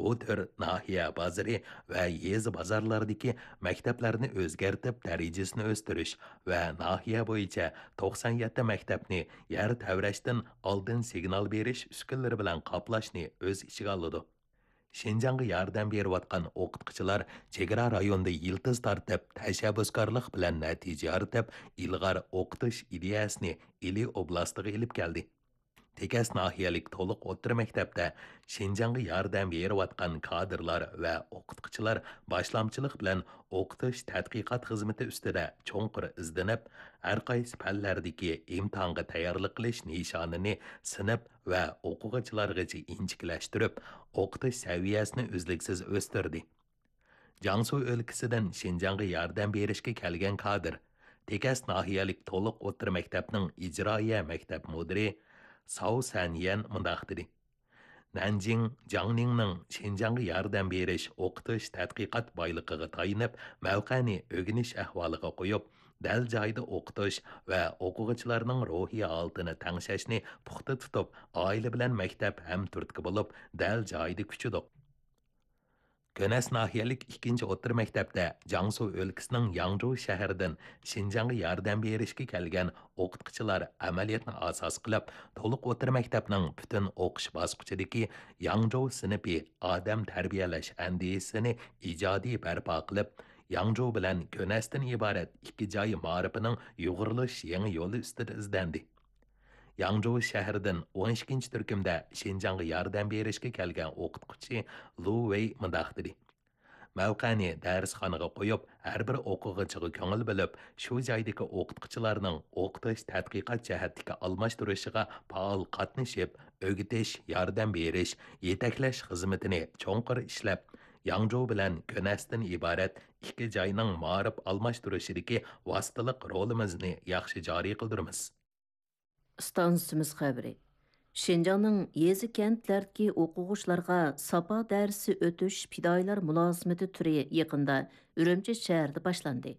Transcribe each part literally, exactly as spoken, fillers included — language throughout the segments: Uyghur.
ئۇ تۈر ناھىيە بازىرى ۋە يېزا بازارلاردىكى مەكتەپلەرنى ئۆزگەرتىپ، دەرىجىسىنى ئۆستۈرۈش ۋە ناھىيە بويىچە توقسان يەتتە مەكتەپنى يەر تەۋرەشتىن ئالدىن سىگنال بېرىش ئۈسكۈنىلىرى بىلەن قاپلاشنى ئۆز ئىچىگە ئالىدۇ. شىنجاڭغا ياردەم بېرىۋاتقان ئوقۇتقۇچىلار چېگرا رايونىدا يىلتىز تارتىپ، تەشەببۇسكارلىق بىلەن نەتىجە يارىتىپ، ئىلغار ئوقۇتۇش ئىدىيەسىنى ئىلى ئوبلاستىغا ئېلىپ كەلدى. تېكەس ناھىيەلىك تولۇق ئوتتۇرا مەكتەپتە شىنجاڭغا ياردەم بېرىۋاتقان كادىرلار ۋە ئوقۇتقۇچىلار باشلامچىلىق بىلەن ئوقۇتۇش تەتقىقات خىزمىتى ئۈستىدە چوڭقۇر ئىزدىنىپ، ھەرقايسى پەنلەردىكى ئىمتىھانغا تەييارلىق قىلىش نىشانىنى سىنىپ ۋە ئوقۇغۇچىلارغىچە ئىنچىكىلەشتۈرۈپ، ئوقۇتۇش سەۋىيەسىنى ئۈزلۈكسىز ئۆستۈردى. جياڭسۇ ئۆلكىسىدىن شىنجاڭغا ياردەم بېرىشكە كەلگەن كادىر، تېكەس ناھىيەلىك تولۇق ئوتتۇرا مەكتەپنىڭ ئىجرائىيە مەكتەپ مۇدىرى ساۋ سەنيەن مۇنداق دېدى: نەنجىڭ جياڭنىڭنىڭ شىنجاڭغا ياردەم بېرىش، ئوقۇتۇش، تەتقىقات بايلىقىغا تايىنىپ، مەۋقەنى ئۆگىنىش ئەھۋالىغا قويۇپ، دەل جايىدا ئوقۇتۇش ۋە ئوقۇغۇچىلارنىڭ روھىي ھالىتىنى تەڭشەشنى پۇختا تۇتۇپ، ئائىلە بىلەن مەكتەپ ھەمتۈرتكە بولۇپ، دەل جايىدا كۈچىدۇق. كۆنەس ناھىيەلىك ئىككىنچى ئوتتۇرا مەكتەپتە جياڭسۇ ئۆلكىسىنىڭ ياڭجۇ شەھىرىدىن شىنجاڭغا ياردەم بېرىشكە كەلگەن ئوقۇتقۇچىلار ئەمەلىيەتنى ئاساس قىلىپ، تولۇق ئوتتۇرا مەكتەپنىڭ پۈتۈن ئوقۇش باسقۇچىدىكى ياڭجۇ سىنىپى ئادەم تەربىيەلەش ئەندىزىسىنى ئىجادىي بەرپا قىلىپ، ياڭجۇ بىلەن كۆنەستىن ئىبارەت ئىككى جاي مائارىپىنىڭ يۇغۇرۇلۇش يېڭى يولى ئۈستىدە ئىزدەندى. ياڭجۇ شەھىرىدىن ئون ئىككىنچى تۈركۈمدە شىنجاڭغا ياردەم بېرىشكە كەلگەن ئوقۇتقۇچى لۇ ۋېي مۇنداق دېدى: مەۋقەنى دەرسخانىغا قويۇپ، ھەر بىر ئوقۇغۇچىغا كۆڭۈل بۆلۈپ، شۇ جايدىكى ئوقۇتقۇچىلارنىڭ ئوقۇتۇش، تەتقىقات جەھەتتىكى ئالماشتۇرۇشىغا پائال قاتنىشىپ، ئۆگىتىش، ياردەم بېرىش، يېتەكلەش خىزمىتىنى چوڭقۇر ئىشلەپ، ياڭجۇ بىلەن كۆنەستىن ئىبارەت ئىككى جاينىڭ مائارىپ ئالماشتۇرۇشىدىكى ۋاسىتىلىق رولىمىزنى ياخشى جارى قىلدۇرىمىز. ئىستانسىمىز خەۋىرى. شىنجاڭنىڭ يېزا-كەنتلەردىكى ئوقۇغۇچىلارغا ساپا دەرسى ئۆتۈش پىدائىيلار مۇلازىمىتى تۈرى يېقىندا ئۈرۈمچى شەھىرىدە باشلاندى.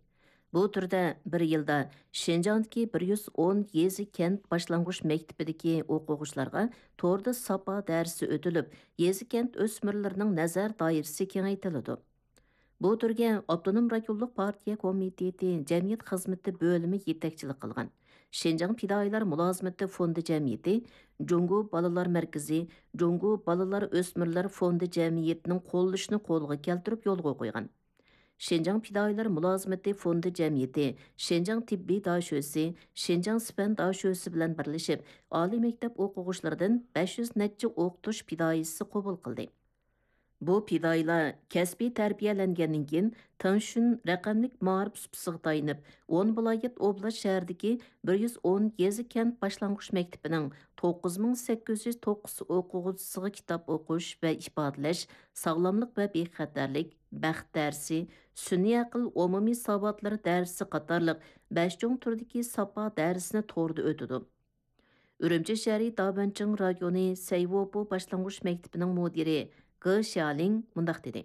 بۇ تۈردە بىر يىلدا شىنجاڭدىكى بىر يۈز ئون يېزا-كەنت باشلانغۇچ مەكتىپىدىكى ئوقۇغۇچىلارغا توردا ساپا دەرسى ئۆتۈلۈپ، يېزا-كەنت ئۆسمۈرلىرىنىڭ نەزەر دائىرىسى كېڭەيتىلىدۇ. بۇ تۈرگە ئاپتونوم رايونلۇق پارتىيە كومىتېتى جەمئىيەت خىزمىتى بۆلۈمى يېتەكچىلىك قىلغان. شىنجاڭ پىدائىيلار مۇلازىمىتى فوندى جەمئىيىتى، جۇڭگو بالىلار مەركىزى، جۇڭگو بالىلار ئۆسمۈرلەر فوندى جەمئىيىتىنىڭ قوللىشىنى قولغا كەلتۈرۈپ يولغا قويغان. شىنجاڭ پىدائىيلار مۇلازىمىتى فوندى جەمئىيىتى شىنجاڭ تېببىي داشۆسى، شىنجاڭ سىپەن داشۆسى بىلەن بىرلىشىپ، ئالىي مەكتەپ ئوقۇغۇچىلىرىدىن بەش يۈز نەچچە ئوقۇتۇش پىدائىيسى قوبۇل قىلدى. بۇ پىدائىيلار كەسپىي تەربىيەلەنگەندىن كېيىن، تېڭشۈن رەقەملىك مائارىپ سۇپىسىغا تايىنىپ، ئون ۋىلايەت ئوبلاست شەھىرىدىكى بىر يۈز ئون يېزا-كەنت باشلانغۇچ مەكتىپىنىڭ توققۇز مىڭ سەككىز يۈز توققۇز ئوقۇغۇچىسىغا كىتاب ئوقۇش ۋە ئىپادىلەش، ساغلاملىق ۋە بىخەتەرلىك، بەخت دەرسى، سۈنئىي ئەقىل ئومۇمىي ساۋاتلىرى دەرسى قاتارلىق بەش چوڭ تۈردىكى ساپا دەرسىنى توردا ئۆتىدۇ. ئۈرۈمچى شەھىرى دابەنچىڭ رايونى سەيۋوپو باشلانغۇچ مەكتىپىنىڭ مۇدىرى گې شيالىڭ مۇنداق دېدى: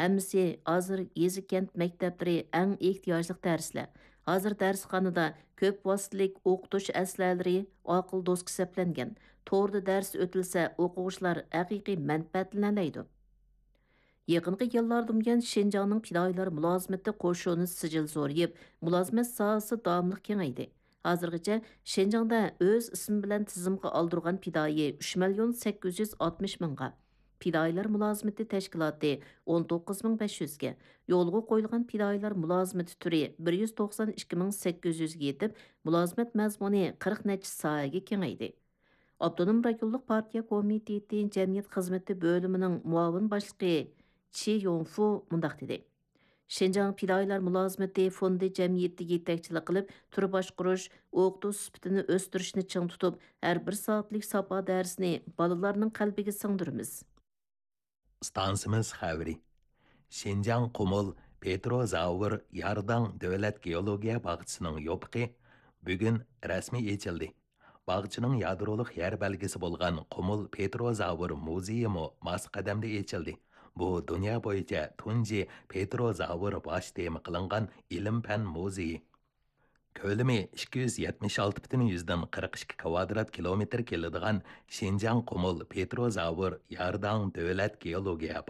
ھەممىسى ھازىر يېزا-كەنت مەكتەپلىرى ئەڭ ئېھتىياجلىق دەرسلەر. ھازىر دەرسخانىدا كۆپ ۋاسىتىلىك ئوقۇتۇش ئەسلىھەلىرى، ئاقىل دوسكا سەپلەنگەن. توردا دەرس ئۆتۈلسە، ئوقۇغۇچىلار ھەقىقىي مەنپەئەتلىنەلەيدۇ. يېقىنقى يىللاردىن بۇيان، شىنجاڭنىڭ پىدائىيلار مۇلازىمىتى قوشۇنى سىجىل زورىيىپ، مۇلازىمەت ساھەسى داۋاملىق كېڭەيدى. ھازىرغىچە شىنجاڭدا ئۆز ئىسمى بىلەن تىزىمغا ئالدۇرغان پىدائىي ئۈچ مىليون سەككىز يۈز ئاتمىش مىڭغا، پىدائىيلار مۇلازىمىتى تەشكىلاتى ئون توققۇز مىڭ بەش يۈزگە، يولغا قويۇلغان پىدائىيلار مۇلازىمىتى تۈرى بىر يۈز توقسان ئىككى مىڭ سەككىز يۈزگە يېتىپ، مۇلازىمەت مەزمۇنى قىرىق نەچچە ساھەگە كېڭەيدى. ئاپتونوم رايونلۇق پارتىيە كومىتېتى جەمئىيەت خىزمىتى بۆلۈمىنىڭ مۇئاۋىن باشلىقى چى يونفۇ مۇنداق دېدى: شىنجاڭ پىدائىيلار مۇلازىمىتى فوندى جەمئىيىتى يېتەكچىلىك قىلىپ، تۈر باشقۇرۇش، ئوقۇتۇش سۈپىتىنى ئۆستۈرۈشنى چىڭ تۇتۇپ، ھەر بىر سائەتلىك ساپا دەرسىنى بالىلارنىڭ قەلبىگە سىڭدۈرىمىز. ئىستانسىمىز خەۋىرى. شىنجاڭ قۇمۇل پېتروزاۋر يارداڭ دۆلەت گېئولوگىيە باغچىسىنىڭ يوپۇقى بۈگۈن رەسمىي ئېچىلدى. باغچىنىڭ يادرولۇق يەر بەلگىسى بولغان قۇمۇل پېتروزاۋر مۇزېيىمۇ ماس قەدەمدە ئېچىلدى. بۇ دۇنيا بويىچە تۇنجى پېتروزاۋر باش تېما قىلىنغان ئىلىم-پەن مۇزېيى. كۆلىمى ئىككى يۈز يەتمىش ئالتە پۈتۈن يۈزدىن قىرىق ئىككى كىۋادرات كىلومېتىر كېلىدىغان شىنجاڭ قۇمۇل پېتروزاۋر يارداڭ دۆلەت گېئولوگىيە